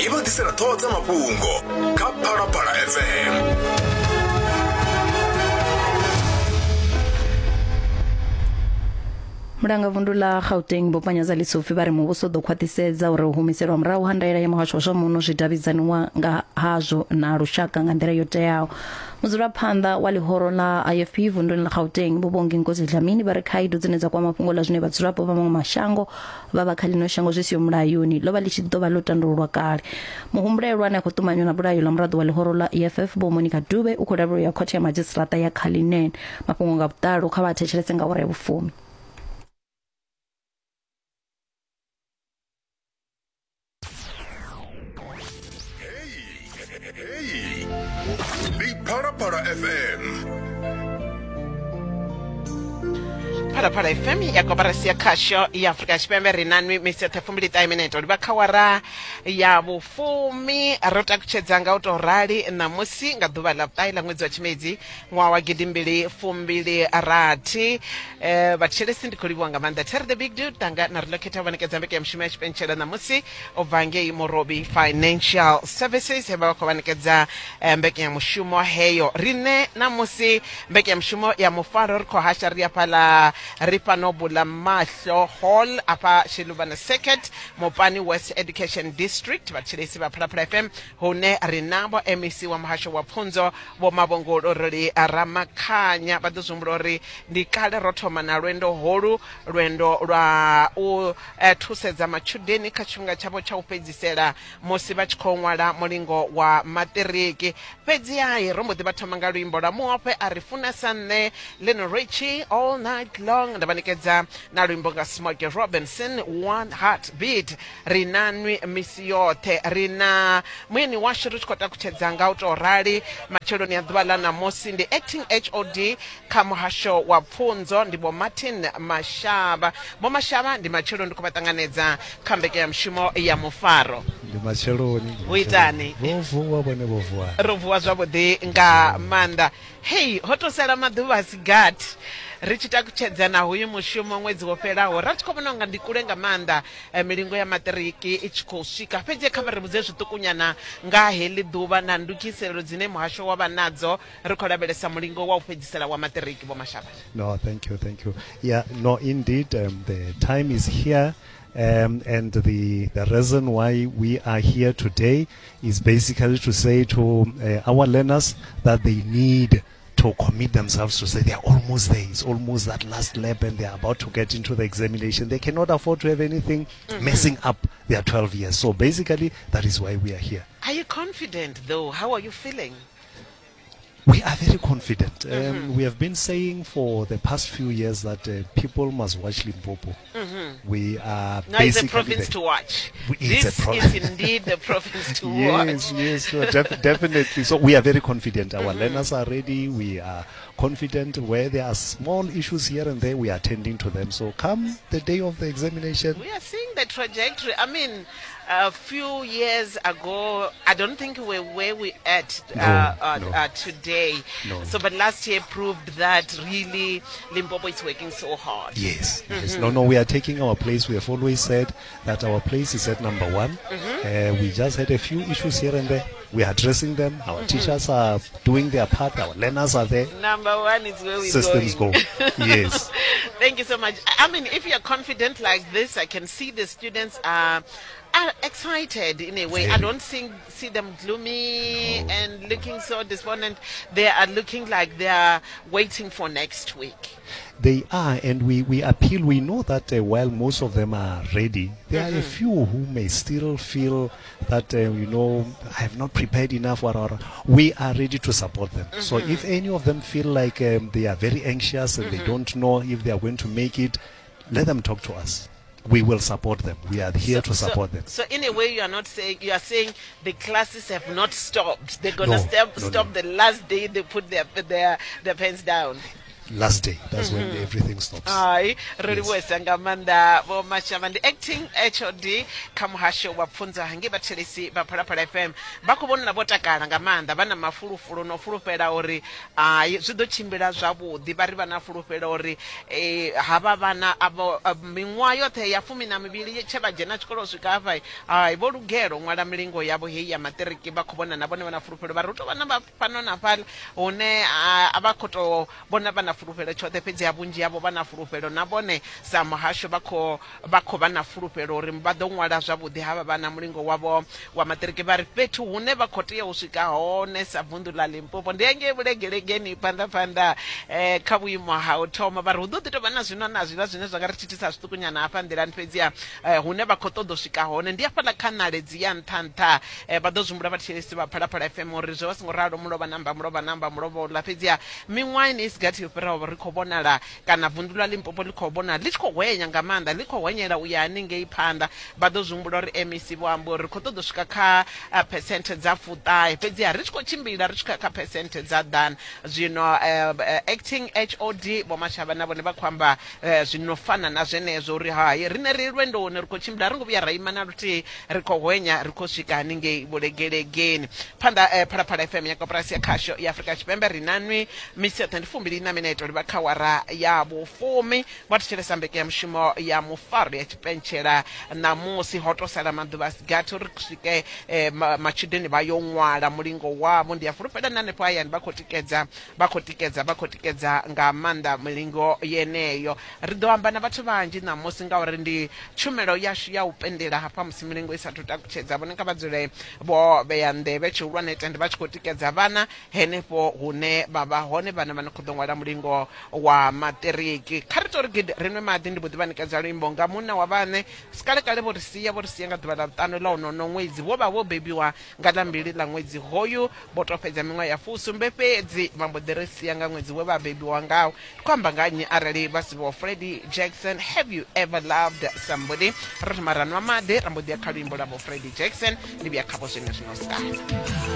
I vha ḓisela ṱhoho dza mafhungo kha Phalaphala FM. Mulangavundu ḽa Gauteng Vho Panyaza Lesufi vha ri muvhuso u ḓo khwaṱhisedza uri u humiselwa murahu ha ndaela ya muhasho wa zwa muno zwi davhidzaniwa nga hazwo na lushaka nga nḓila yo teaho. Mudzulaphanḓa wa ḽihoro ḽa IFP vunduni ḽa Gauteng Vho Bongi Nkosi Dlamini vha ri khaedu dzine dza kwama fhungo ḽa zwine vhadzulapo vha maṅwe mashango vha vha kha ḽino shango zwi siho mulayoni ḽo vha ḽi tshi ḓo vha ḽo tandululwa kale. Muhumbulelwa ane a khou ṱumanywa na bulayo ḽa muraḓo wa ḽihoro ḽa EFF Vho Monica Dube u khou lavhelelwa u ya khothe ya madzhisiṱiraṱa ya Cullinan. Mafhungo nga vhuḓalo kha vha thetshelese nga awara ya vhufumi. Heyi ndi Phalaphala FM. Phalaphala FM ya koporasi ya khasho ya Afrika Tshipembe ri na nwi misi yoṱhe fumbili ṱahe minete livha kha wara ya vhufumi ro takutshedza nga u tou rali ṋamusi nga ḓuvha ḽa vhuṱahe ḽa ṅwedzi wa tshimedzi ṅwaha wa gidimbili fumbili rathi eh, vhathetshelesi ndi khou livhuwa nga maanḓa Terry the big dude tanga na ri khetha vha ṋekedza mbekanyamushumo ya tshipentshela ṋamusi u bva ngei Morobi Financial Services he vha vha khou vha ṋekedza eh, mbekanyamushumo heyo riṋe ṋamusi mbekanyamushumo ya mufaro ri khou hasha ri hafhaḽa ri fhano bula mahlo hall afha Shiluvana Circuit Mopani West Education District vhathetshelesi vha Phalaphala FM hune ri navho MEC wa muhasho wa pfunzo Vho Mavhongoloroli Ramakhanya vha ḓo zwi humbula uri ndi kale ro thoma na lwendo holu, lwendo lwa u thusedza matshudeni kha tshifhinga tshavho tsha u fhedzisela musi vha tshi khou ṅwala mulingo wa maṱiriki. Fhedzi-ha ro mbo ḓi vha thoma nga luimbo lwa Muofhe a ri funa sa nṋe, Lionel Richie, All Night Long, nda vha ṋekedza na luimbo nga Smokey Robinson, One Heart Beat. Ri na nwi misi yoṱhe. Ri na mueni washu ri tshi khou takutshedza nga u tou rali matsheloni a ḓuvha ḽa ṋamusi ndi acting HOD kha muhasho wa pfunzo ndi Vho Martin Mashaba. Vho Mashaba ndi matsheloni ndi khou vha ṱanganedza kha mbekanyamushumo ya mufaro. Ndi matsheloni. Ndi Hu itani? Vho vuwa vhone vho vuwa. Ro vuwa zwavhuḓi nga maanḓa. Hei, ho tou sala maḓuvha a si gathi ri tshi takutshedza na hoyu mushumo ṅwedzi wo fhelaho ra tshi khou vhona unga ndi kule nga maanḓa eh, milingo ya maṱiriki i tshi khou swika fhedzi kha vha ri vhudze zwiṱukunyana nga heḽi ḓuvha na ndugiselelo dzine muhasho wa vha nadzo ri khou lavhelesa mulingo wa u fhedzisela wa maṱiriki vho Mashaba. No, thank you, thank you. Yeah, no, indeed, the time is here. And the reason why we are here today is basically to say to our learners that they need to commit themselves to say they are almost there. It's almost that last lap and they are about to get into the examination. They cannot afford to have anything messing up their 12 years. So basically, that is why we are here. Are you confident though? How are you feeling? We are very confident. We have been saying for the past few years that people must watch Limpopo. We are No, it's a basically province the to watch. It's This a is indeed the province to Yes, watch. yes, no, definitely. So we are very confident. Our learners are ready. We are confident. Where there are small issues here and there, we are attending to them. So come the day of the examination, We are seeing the trajectory. I mean, a few years ago, I don't think we're where we're at No, no. today. No. So, but last year proved that really Limpopo is working so hard. Yes, yes. No, no, we are taking our place. We have always said that our place is at number one. We just had a few issues here and there. We are addressing them. Our teachers are doing their part. Our learners are there. Number one is where we're Systems going. go. Yes. Thank you so much. I mean, if you're confident like this, I can see the students are excited in a way. I Very. don't see them gloomy No. and looking so despondent. They are looking like they are waiting for next week. They are, and we appeal. We know that while most of them are ready, there are a few who may still feel that, I have not prepared enough. Or we are ready to support them. So if any of them feel like they are very anxious and they don't know if they are going to make it, let them talk to us. We will support them. We are here to support them. So in a way, you are not saying, you are saying the classes have not stopped. They're going to No, no, stop no. the last day they put their pens down. last day. That's when everything stops. Hai, ro livhuwesa nga maanḓa Vho Mashavha. Ndi acting HOD kha muhasho wa pfunzo hangei. Vhathelesi vha Phalaphala FM vha khou vhonala vho takala nga maanḓa, vha na mafulufulu no fulufhela uri hai, zwi ḓo tshimbila zwavhuḓi. Vha ri vha na fulufhelo uri havha vhana avho miṅwaha yoṱhe ya 12 tshe vha dzhena tshikolo u swika hafha, hai, vho lugela u ṅwala milingo yavho heyi ya maṱiriki. Vha khou vhona na vhone vha na fulufhelo, vha ri hu tou vha na fhano na fhaḽa hune a vha khou tou vhona vha na fulufhelo tshoṱhe, fhedzi ha vhunzhi havho vha na fulufhelo. Na vhone sa muhasho vha khou vha khou vha na fulufhelo uri vha ḓo ṅwala zwavhuḓi havha vhana mulingo wavho wa maṱiriki. Vha ri fhethu hune vha khou tea u swika hone sa vunḓu ḽa Limpopo ndi hangei vhulegelegeni phanḓa phanḓa kha vhuimo ha u thoma. Vha ri hu ḓo ḓi tovha na zwino na zwiḽa zwine zwa nga ri thithisa zwiṱukunyana hafha nḓilani, fhedziha hune vha khou ṱoḓa u swika hone ndi hafhaḽa kha ṋaledzi ya nṱha nṱha. Vha ḓo zwi humbula vhathetshelesi vha Phalaphala FM uri zwo vha songo ralo mulovha namba mulovha namba mulovha uḽa, fhedziha miṅwaha ine i si gathi yo fhiraho ri khou vhonala kana vunḓu ḽa Limpopo ḽi khou vhonala ḽi tshi khou hwenya nga maanḓa, ḽi khou hwenyela u ya haningei phanḓa. Vha ḓo zwi humbula uri MEC vho amba uri ri khou ṱoḓa u swika kha phesenthe dza 90, fhedziha ri tshi khou tshimbila ri tshi khou ya kha phesenthe dza 100. Zwino acting HOD Vho Mashavha na vhone vha khou amba zwi no fana na zwenezwo uri hai, riṋe ri lwendoni, ri khou tshimbila, a ri ngo vhuya ra ima na luthihi, ri khou hwenya, ri khou swika haningei vhulegelegeni phanḓa. Phalaphala FM ya koporasi ya khasho ya Afrika Tshipembe, ri na nwi misi yoṱhe. Ndi 24 minete livha kha wara ya vhufumi. Vha thetshelesa mbekanyamushumo ya mufaro ya tshipentshela. Ṋamusi ho tou sala maḓuvha a si gathi uri swike matshudeni vha yo ṅwala mulingo wavho. Ndi a fulufhela na hanefho hayani vha khou tikedza, vha khou tikedza, vha khou tikedza nga maanḓa milingo yeneyo. Ri ḓo amba na vhathu vhanzhi ṋamusi ngauri ndi tshumelo yashu ya u pendela hafha musi milingo i sathu takutshedza. Vhone kha vha dzule vho vhea nḓevhe, tshihulwane tende vha tshi khou tikedza vhana henefho hune vha vha hone, vhana vha no khou ḓo ṅwala mulingo wa maṱiriki. Kha ri tori gidi ri nwe maḓi, ndi mbo ḓi vha ṋekedza luimbo nga munna wa vhaṋe. Sikalekale vho ri sia, vho ri sia nga ḓuvha ḽa vhuṱanu ḽa honono ṅwedzi. Vho vha vho bebiwa nga ḽa mbili ḽa ṅwedzi hoyu, vho tou fhedza miṅwaha ya 70 fhedzi, vha mbo ḓi ri sia nga ṅwedzi we vha bebiwa ngawo. Ndi khou amba nga nnyi arali vha si Vho Freddie Jackson, Have You Ever Loved Somebody? Ro thoma ra nwa maḓi, ra mbo ḓi ya kha luimbo lwa Vho Freddie Jackson. Ndi vhuya khavho zwenezwino sikale.